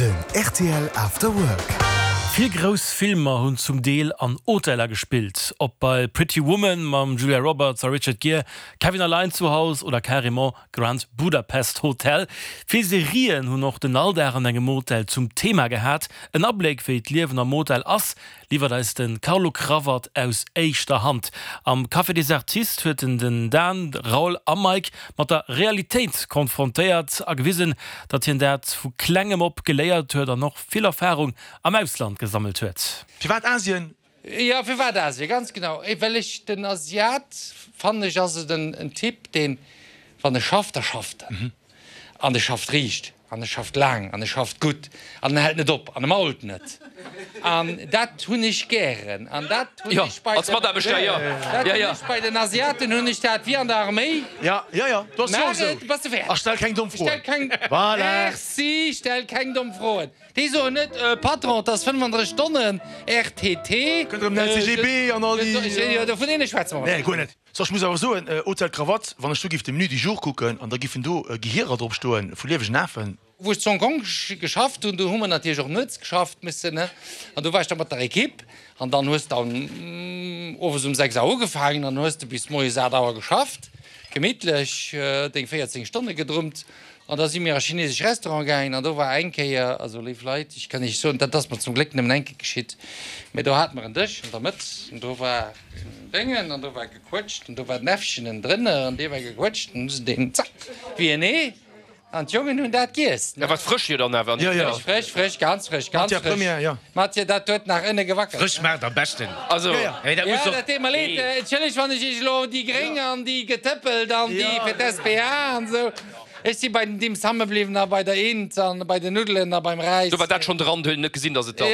Den rtl After Work. Vill grouss Filmer hunn zum Deel an Hoteller gespillt, ob bei Pretty Woman mam Julia Roberts a Richard Gere, Kevin allein zu Haus oder carrément Grand Budapest Hotel. Vill Serien hunn och den Alldag an engem Hotel zum Thema gehat. En Abléck wéi d'Liewen am Hotel ass, liwwert eis de Carlo Cravat aus éischter Hand. Am Café des Artistes huet en den Dan, Raoul a Mike mat der Realitéit konfrontéiert a gewisen, datt hien dat vu klengem op geléiert huet an och vill Erfarung am Ausland gesammelt huet. Firwat Asien? Jo, firwat Asien? Ganz genau, well ech den Asiat, fannen ech, ass et en Typ, deen, wann e schafft, da schafft en. An e schafft riicht, an e schafft laang, an e schafft gutt, an en hält net op, an e mault net. An dat hunn ech gären. An dat hunn ech bei den, dat hunn ech bei den Asiaten hunn ech dat wéi an der Arméi. Maach et, bass de fäerdeg. Stell keng domm Froen. Merci, stell keng domm Froen. Déi soen net, Patron, et ass 35 Stonnen RTT. Kënnt erëm den LCGB an all déi. Jo, dovun deene schwätze mer Nee, guer net. So, ech muss awer soen, Hotel Cravate, wann ech do giff de Menu du jour kucken an da giffen do Gehierer drop stoen vu liewegen Afen. Wou ech zu Hong Kong geschafft hunn, do hu mer natierlech och nuets geschafft mussen, ne? An do war ech da mat der Equipe an dann hues de owes um 6 Auer ugefaangen an hues de bis moies 8 Auer geschafft, gemittlech deng 14 Stonne gedrummt. An da si mir a chinesesch Restaurant gaangen an do war eng Kéier, also léif Leit, ech kann Iech soen, dat ass mer zum Gléck nëmmen eng Kéier geschitt, mä do hate mer en Dësch an der Mëtt an do war en Déngen an do war gequëtscht an do war den Äffchen ënnendrënner an dee war gequëtscht an hu se deen, zack, wéi en Ee an d'Jongen hunn dat giess. Dat war frësch jo dann awer? Jo, jo. Frësch, frësch, frësch, ganz frësch, ganz Matière frësch. première, jo. Matière, dat huet nach ënne gewackelt. Frësch maacht am beschten. Also, Jo, jo. Mee dat Jo, muss doch. dat deet mer leed. Entschëllegt, wann ech Iech elo déi Gréng an déi getëppelt an déi fir d'SPA an esou. Ech si bei den Dim Summe bliwwen a bei der Int an bei den Nuddelen a beim Räis. Do war dat schonn dran, do huet een net gesinn, datt et dann.